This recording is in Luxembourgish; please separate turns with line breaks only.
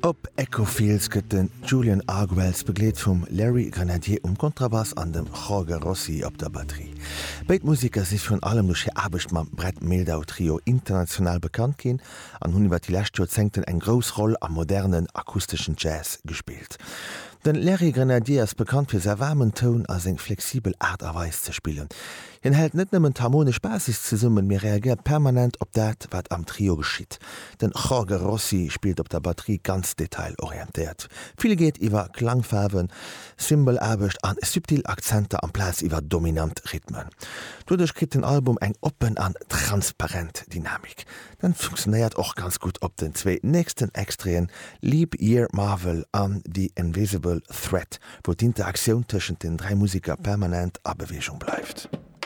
Op Echo Fields gëtt den Julian Arguelles begleet vum Larry Grenadier um Kontrabass an dem Jorge Rossy op der Batterie. Béid Museker si virun allem duerch hir Aarbecht mam Brad Mehldau Trio international bekannt ginn an hunn iwwer déi lescht Joerzéngten eng grouss Roll am modernen akusteschen Jazz gespillt. Den Larry Grenadier ass bekannt fir säi waarmen Toun a seng flexibel Aart a Weis ze spillen. Hien hält net nëmmen d'harmonesch Basis zesummen, mee reagéiert permanent op dat, wat am Trio geschitt. Den Jorge Rossy spillt op der Batterie ganz detailorientéiert. Vill geet iwwer Klangfaarwen, Cymbalaarbecht an subtil Akzenter amplaz iwwer dominant Rhythmen. Doduerch kritt den Album eng oppen an transparent Dynamik. Dat funktionéiert och ganz gutt op den zwéi nächsten Extraiten Leap Year Marvel an The Invisible Threat, wou d'Interaktioun tëschent den 3 Museker permanent a Beweegung bleift.